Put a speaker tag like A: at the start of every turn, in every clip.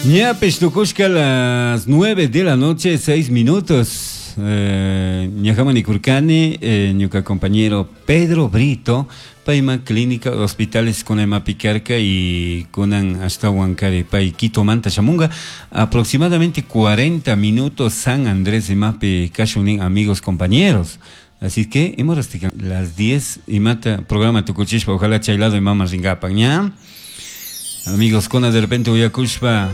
A: Ñapish tukushka las 9 de la noche, 6 minutos. Ñahamani kurkani, ñuka compañero Pedro Brito, payma clínica hospitales kunaymapi karka y kunan ashtawan kari pay Quitomanta shamunga aproximadamente 40 minutos San Andrés imapi kashunin amigos compañeros. Así que hemos las 10 imata programa tukuchishpa ojalá chay lado imama ringapan ña. Amigos, kuna de repente uyakushpa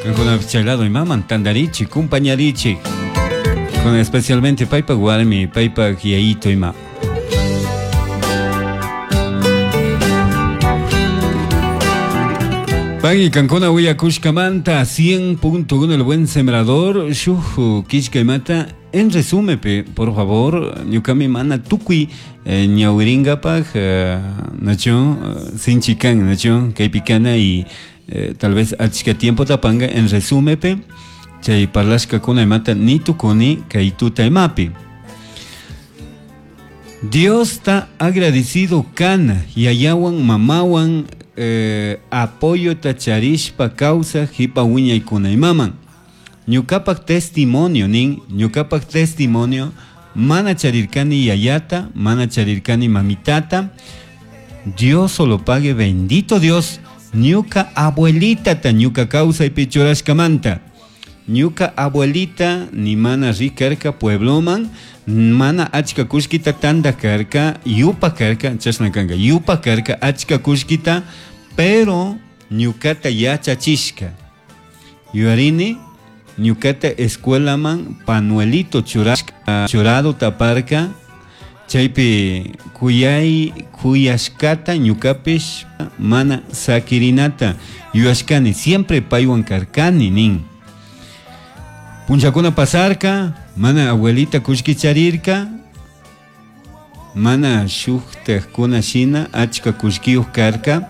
A: kankuna chay lado imaman tandarichi, kumpañarichi. Con especialmente paypa warmi, paypa yayito ima. Pagui kankuna uyakushkamanta 100.1 el buen sembrador, shuj kishka imata. En resumen, pe, por favor, ñukami mana tukuy ñawiringapaj nacho sinchikan nacho kaypikana y tal vez achka tiempo tapanga en resumen pe, chay parlashkakuna imata ni tukuni kay tuta imapi. Dios está agradecido kana yayawan mamawan apoyo tacharishpa causa jipa wiñaykuna imaman. Ñukapak testimonio nin, ñukapak testimonio mana charirkani yayata, mana charirkani mamitata. Dios solo pague, bendito Dios, ñuka abuelita ta ñuka causa y pichurashkamanta. Ñuka abuelita ni mana rikarka puebloman, mana achka kushkita tanda karka, yupa karka, chashna kanka, yupa karka achka kushkita, pero ñukata yachachishka. Yuarini, ñukata escuelaman panuelito churado taparka, chaypi kuyay kuyashkata ñukapish mana sakirinata yuyashkani, siempre paywan karkani nin. Punchakuna pasarka, mana abuelita kushkicharirka, mana shuktajkuna shina achka kushkiyuj karka,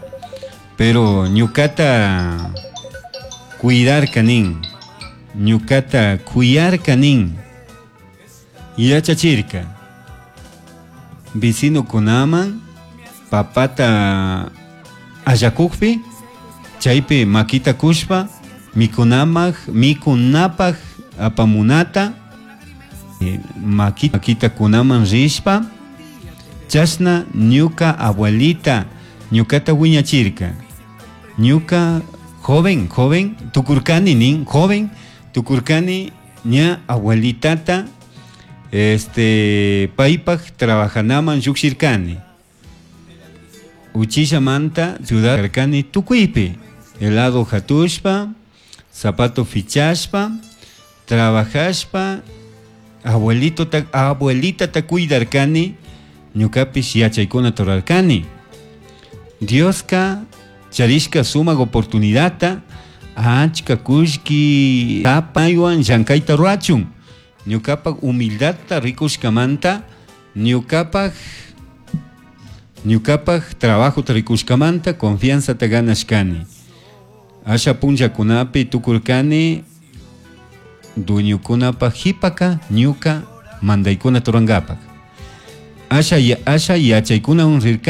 A: pero ñukata cuidarka nin, ñukata kuyarka nin, yachachirka. Vecino kunaman papata allakukpi, chaypi makita kushpa, mikunamaj, mikunapaj apamunata, makita kunaman rishpa, chashna ñuka abuelita ñukata wiñachirka. Ñuka joven, joven, tukurkani nin, joven, tukurkani ña abuelitata, paypaj trabajanaman llukshirkani. Uchillamanta ciudad karkani tukuypi, helado hatushpa, zapato fichashpa, trabajashpa, abuelito ta, abuelita ta cuidarkani, ñukapish yachaykuna turarkani. Dioska charishka sumak oportunidadta achka kullki tapaywan llankayta ruwachun. Ñukapak humildadta rikushkamanta, ñukapak trabajota rikushkamanta confianzata ganashkani. Asha punllakunapi tukurkani dueñokunapak jipaka ñuka mandaykuna turankapak. Asha yachaykunawan rirkani.